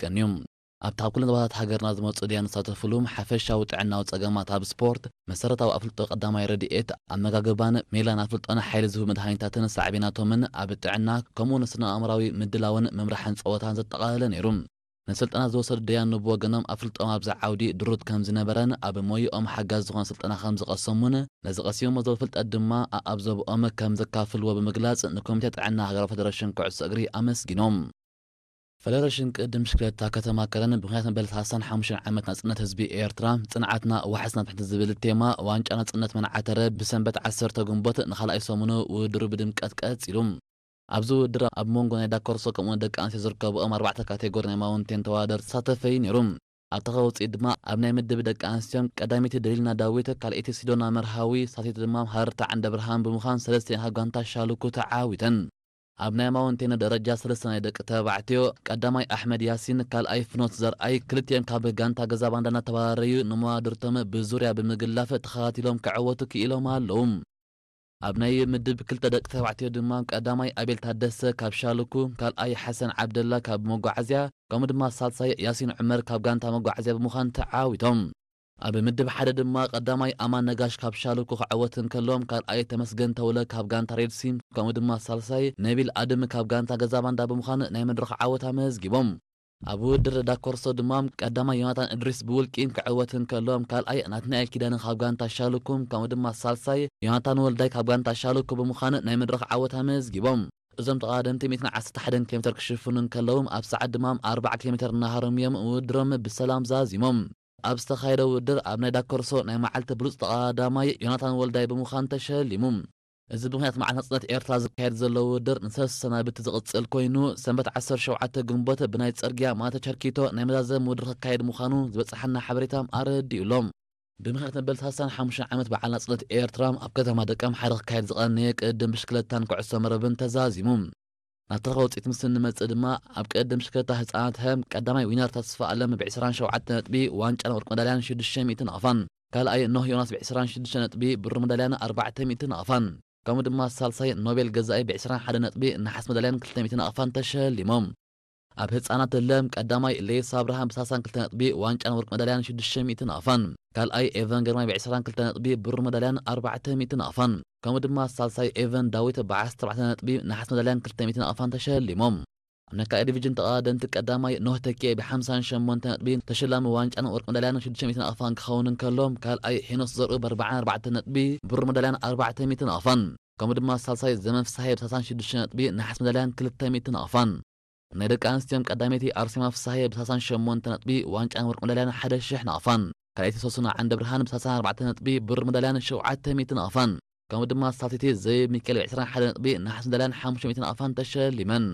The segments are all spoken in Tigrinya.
ኣይተሓልቀን እዩ። ኣብቲ ካብ ኩለን ዞባታት ሃገርና ዝመፁ ደያኑ ዝሳተፍሉ ሓፈሻዊ ጥዕናዊ ፀገማት ኣብ ስፖርት፣ መሰረታዊ ኣፍልጦ ቀዳማይ ረድኤት፣ ኣመጋግባን ሜላን ኣፍልጦን ሓይሊ ዝህቡ መድሃኒታትን ሳዕቤናቶምን ኣብ ጥዕና ከምኡ እውን ስነ ኣእምራዊ ምድላውን ምምራሕን ፀወታን ዘጠቓለለ ነይሩ። ንስልጠና ዝወሰዱ ደያኑ ብወገኖም ኣፍልጦም ኣብዚ ዓውዲ ድሩት ከም ዝነበረን ኣብ ሞይኦም ሓጋዚ ዝኾነ ስልጠና ከም ዝቐሰሙን ነዚ ቀሲሞሞ ዘለዉ ፍልጠት ድማ ኣኣብ ዞብኦም ከም ዘካፍልዎ ብምግላፅ ንኮሚቴ ጥዕና ሃገራዊ ፈደረሽን ኩዕሶ እግሪ ኣመስጊኖም። ፈደረሽን ቅድም ሽክለታ ከተማ ከረን ብምኽንያት መበል ሰላሳን ሓሙሽተን ዓመት ናጽነት ህዝቢ ኤርትራ፣ ጽንዓትና ዋሕስና ትሕቲ ዝብል ቴማ ዋንጫ ናጽነት መናዓተረ ብሰንበት ዓሰርተ ግንቦት ንኻልኣይ ሰሙኑ ውድድሩ ብድምቀት ቀጺሉ። ኣብዚ ውድድር ኣብ መንጎ ናይ ዳኮርሶ ከምኡ ደቂ ኣንስትዮ ዝርከብኦም ኣርባዕተ ካቴጎሪ ናይ ማውንቴን ተወዳደርቲ ተሳተፈ እዩ ነይሩ። ኣብ ተኸ ውፅኢት ድማ ኣብ ናይ ምድብ ደቂ ኣንስትዮን ቀዳሚቲ ደሊልና ዳዊት፣ ካልኣይቲ ሲዶና መርሃዊ፣ ሳልሰይቲ ድማ ሃረርታ ዓንደ ብርሃን ብምዃን ሰለስቲኤን ካብ ጋንታ ሻልኩ ተዓዊተን። ኣብ ናይ ማውንቴን ደረጃ ሰለስተ ናይ ደቂ ተባዕትዮ ቀዳማይ ኣሕመድ ያሲን፣ ካልኣይ ፍኖት ዘርኣይ፣ ክልቲኦም ካብ ጋንታ ገዛ ባንዳ እናተባረረዩ ንመዋድርቶም ብዙርያ ብምግላፍ ተኸታቲሎም ክዕወቱ ክኢሎም ኣለዉ። ኣብ ናይ ምድብ ክልተ ደቂ ተባዕትዮ ድማ ቀዳማይ ኣቤል ታደሰ ካብ ሻልኩ፣ ካልኣይ ሓሰን ዓብደላ ካብ መጓዓዝያ፣ ከምኡ ድማ ሳልሳይ ያሲን ዑመር ካብ ጋንታ መጓዓዝያ ብምዃን ተዓዊቶም። ኣብ ምድብ ሓደ ድማ ቀዳማይ ኣማን ነጋሽ ካብ ሻልኩ ክዕወት እንከሎም፣ ካልኣይ ተመስገን ተውለ ካብ ጋንታ ሬድሲ፣ ከምኡ ድማ ሳልሳይ ነቢል ኣድም ካብ ጋንታ ገዛ ባንዳ ብምዃን ናይ መድረኽ ዓወት ኣመዝጊቦም። ኣብ ውድድር ዳኮርሶ ድማ ቀዳማይ ዮናታን እድሪስ ብውልቂ ክዕወት እንከሎ፣ ካልኣይ ናትናኤል ኪዳነ ካብ ጋንታ ሻልኩም፣ ከምኡ ድማ ሳልሳይ ዮናታን ወልዳይ ካብ ጋንታ ሻልኩ ብምዃን ናይ መድረኽ ዓወት ኣመዝጊቦም። እዞም ተቐዳደምቲ ሚእትን ዓሰርተ ሓደን ኪሎ ሜትር ክሽፍኑ እንከለዉ፣ ኣብ ሰዓት ድማ ኣርባዓ ኪሎ ሜትር እናሃረሙ እዮም ውድድሮም ብሰላም ዛዚሞም። ኣብ ዝተኻየደ ውድድር ኣብ ናይ ዳኮርሶ ናይ መዓልቲ ብሉጽ ተቐዳዳማይ ዮናታን ወልዳይ ብምዃን ተሸሊሙ። እዚ ብምኽንያት መዓልቲ ናጽነት ኤርትራ ዝካየድ ዘሎ ውድድር ንሰለስተ ሰናብቲ ዝቕጽል ኮይኑ፣ ሰንበት ዓሰርተ ሸውዓተ ግንቦት ብናይ ጽርግያ ማእተ ቸርኪቶ ናይ መዛዘሚ ውድድር ክካየድ ምዃኑ ዝበጽሓና ሓበሬታ ኣረዲኡ ኣሎ። ብምኽንያት መበል ሰላሳን ሓሙሽተን ዓመት በዓል ናጽነት ኤርትራ ኣብ ከተማ ደቀምሓረ ክካየድ ዝቐነየ ቅድድም ብሽክለታን ኩዕሶ መረብን ተዛዚሙ። ናብቲ ረኸ ውጽኢት ምስ እንመጽእ ድማ ኣብ ቅድድም ብሽክለታ ህጻናት ህም ቀዳማይ ዊነር ተስፋ ኣለም ብ ዕስራን ሸውዓተ ነጥቢ ዋንጫን ወርቂ መዳልያን ሽዱሽተ ሚእቲ ናቕፋን፣ ካልኣይ ኖህ ዮናስ ብ ዕስራን ሽዱሽተ ነጥቢ ብሩር መዳልያን ኣርባዕተ ሚእቲ ናቕፋን፣ ከምኡ ድማ ሳልሳይ ኖቤል ገዛኢ ብ ዕስራን ሓደ ነጥቢ ነሓስ መዳልያን ክልተ ሚእቲ ናቕፋን ተሸሊሞም። ኣብ ህጻናት ለም ቀዳማይ ሌስ ኣብርሃም ብ ሰላሳን ክልተ ነጥቢ ዋንጫን ወርቂ መዳልያን ሽዱሽተ ሚእቲ ናቕፋን፣ ካልኣይ ኤቨን ግርማይ ብ ዕስራን ክልተ ነጥቢ ብሩር መዳልያን ኣርባዕተ ሚእቲ ናቕፋን፣ ከምኡ ድማ ሳልሳይ ኤቨን ዳዊት ብ ዓሰርተ ኣርባዕተ ነጥቢ ነሓስ መዳልያን ክልተ ሚእቲ ናቕፋን ተሸሊሞም። ኣብ ናይ ካልኣይ ዲቪዥን ተቐዳደምቲ ቀዳማይ ኖህ ተኪኤ ብ ሓምሳን ሸሞንተ ነጥቢ ተሸላሚ ዋንጫን ወርቂ መዳልያን ሽዱሽተ ሚእቲ ናቕፋን ክኸውን እንከሎ፣ ካልኣይ ሄኖስ ዘርኡ ብ ኣርባዓን ኣርባዕተ ነጥቢ ብሩር መዳልያን ኣርባዕተ ሚእቲ ናቕፋን፣ ከምኡ ድማ ሳልሳይ ዘመን ፍሳሄ ብ ሰላሳን ሽዱሽተ ነጥቢ ነሓስ መዳልያን ክልተ ሚእቲ ናቕፋን። ናይ ደቂ ኣንስትዮን ቀዳመይቲ ኣርሴማ ፍሳሄ ብ ሰላሳን ሸሞንተ ነጥቢ ዋንጫን ወርቂ መዳልያን ሓደ ሽሕ ናቕፋን፣ ካልኣይቲ ሶሱና ዓንደ ብርሃን ብ ሰላሳን ኣርባዕተ ነጥቢ ብሩር መዳልያን ሸውዓተ ሚእቲ ናቕፋን፣ ከምኡ ድማ ሳልሰይቲ ዘይብ ሚካኤል ብ ዕስራን ሓደ ነጥቢ ነሓስ መዳልያን ሓሙሽተ ሚእቲ ናቕፋን ተሸሊመን።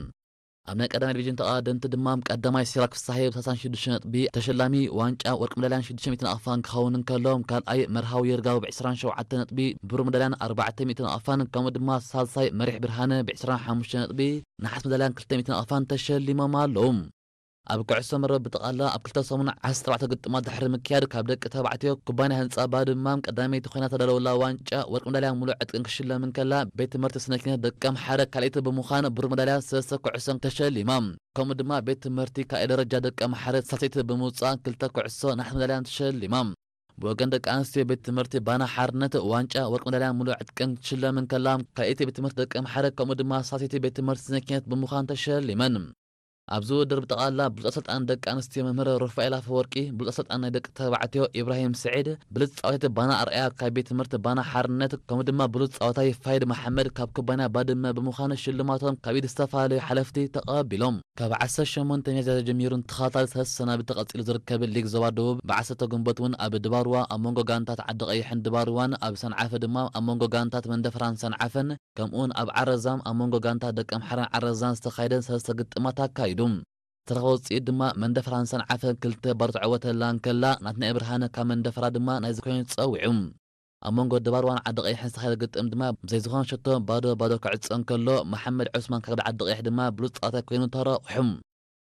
ኣብ ናይ ቀዳማይ ዲቪዥን ተቐዳደምቲ ድማ ቀዳማይ ሲራክ ፍሳሄ ብ ሰላሳን ሽዱሽተ ነጥቢ ተሸላሚ ዋንጫ ወርቂ መዳልያን ሽዱሽተ ሚእቲ ናቕፋን ክኸውን እንከሎ፣ ካልኣይ መርሃዊ ይርጋው ብ ዕስራን ሸውዓተ ነጥቢ ብሩር መዳልያን ኣርባዕተ ሚእቲ ናቕፋን፣ ከምኡ ድማ ሳልሳይ መሪሕ ብርሃነ ብ ዕስራን ሓሙሽተ ነጥቢ ነሓስ መዳልያን ክልተ ሚእቲ ናቕፋን ተሸሊሞም ኣለዉ። ኣብ ኩዕሶ መረብ ብጠቓላ ኣብ ክልተ ሰሙን ዓሰርተ ኣርባዕተ ግጥማት ድሕሪ ምክያድ ካብ ደቂ ተባዕትዮ ኩባንያ ህንጻ ባድማም ቀዳመይቲ ኮይና ተዳለወላ ዋንጫ ወርቂ መዳልያ ሙሉእ ዕጥቅን ክሽለም እንከላ፣ ቤት ትምህርቲ ስነ ኪነት ደቀምሓረ ካልኣይቲ ብምዃን ብሩር መዳልያ ሰለስተ ኩዕሶን ተሸሊማ። ከምኡ ድማ ቤት ትምህርቲ ካልኣይ ደረጃ ደቀምሓረ ሳልሰይቲ ብምውጻእ ክልተ ኩዕሶ ነሓስ መዳልያን ተሸሊማ። ብወገን ደቂ ኣንስትዮ ቤት ትምህርቲ ባና ሓርነት ዋንጫ ወርቂ መዳልያን ሙሉእ ዕጥቅን ክትሽለም እንከላ፣ ካልኣይቲ ቤት ትምህርቲ ደቀምሓረ ከምኡ ድማ ሳልሰይቲ ቤት ትምህርቲ ስነ ኪነት ብምዃን ተሸሊመን። ኣብዚ ውድድር ብጠቕላላ ብሉፅ ኣሰልጣኒ ደቂ ኣንስትዮ መምህር ሩፋኤል ኣፈወርቂ፣ ብሉፅ ኣሰልጣኒ ናይ ደቂ ተባዕትዮ ኢብራሂም ስዒድ፣ ብሉፅ ፃወታይቲ ባና ኣርኣያ ካብ ቤት ትምህርቲ ባና ሓርነት፣ ከምኡ ድማ ብሉፅ ፃወታይ ፋይድ መሓመድ ካብ ኩባንያ ባድመ ብምዃን ሽልማቶም ካብ ኢድ ዝተፈላለዩ ሓለፍቲ ተቐቢሎም። ካብ ዓሰርተ ሸሞንተ ሚያዝያ ጀሚሩ ንተኸታታሊ ሰለስተ ሰናብቲ ቀፂሉ ዝርከብ ሊግ ዞባ ደቡብ ብ ዓሰርተ ግንቦት እውን ኣብ ድባርዋ ኣብ መንጎ ጋንታት ዓዲ ቀይሕን ድባርዋን፣ ኣብ ሰንዓፈ ድማ ኣብ መንጎ ጋንታት መንደፈራን ሰንዓፈን ከምኡውን ኣብ ዓረዛም ኣብ መንጎ ጋንታ ደቀምሓረን ዓረዛን ዝተኻየደ ሰለስተ ግጥማት ኣካይዱ። ዝተረኸበ ውፅኢት ድማ መንደፈራን ሰንዓፈን ክልተ ባዶ ተዕወተላ እንከላ፣ ናትናኤል ብርሃነ ካብ መንደፈራ ድማ ናይዚ ኮይኑ ተፀዊዑ። ኣብ መንጎ ድባርዋን ዓዲ ቀይሕን ዝተኻየደ ግጥም ድማ ብዘይ ዝኾነ ሸቶ ባዶ ባዶ ክዕፀ እንከሎ፣ መሓመድ ዑስማን ካብ ዓዲ ቀይሕ ድማ ብሉፅ ፀዋታይ ኮይኑ ተረቑሑ።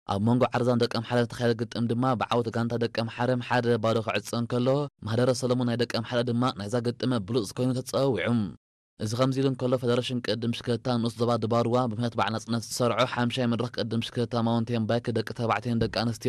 ኣብ መንጎ ዓረዛን ደቀምሓረ ዝተኻየደ ግጥም ድማ ብዓወት ጋንታ ደቀምሓረ ሓደ ባዶ ክዕፀ እንከሎ፣ ማህደረ ሰለሙን ናይ ደቀምሓረ ድማ ናይዛ ግጥም ብሉፅ ኮይኑ ተፀዊዑ። እዚ ከምዚ ኢሉ እንከሎ፣ ፈደረሽን ቅድድም ብሽክለታ ንኡስ ዞባ ድባርዋ ብምኽንያት በዓል ናጽነት ዝሰርዖ ሓምሻይ መድረኽ ቅድድም ብሽክለታ ማውንቴን ባይክ ደቂ ተባዕትዮን ደቂ ኣንስትዮን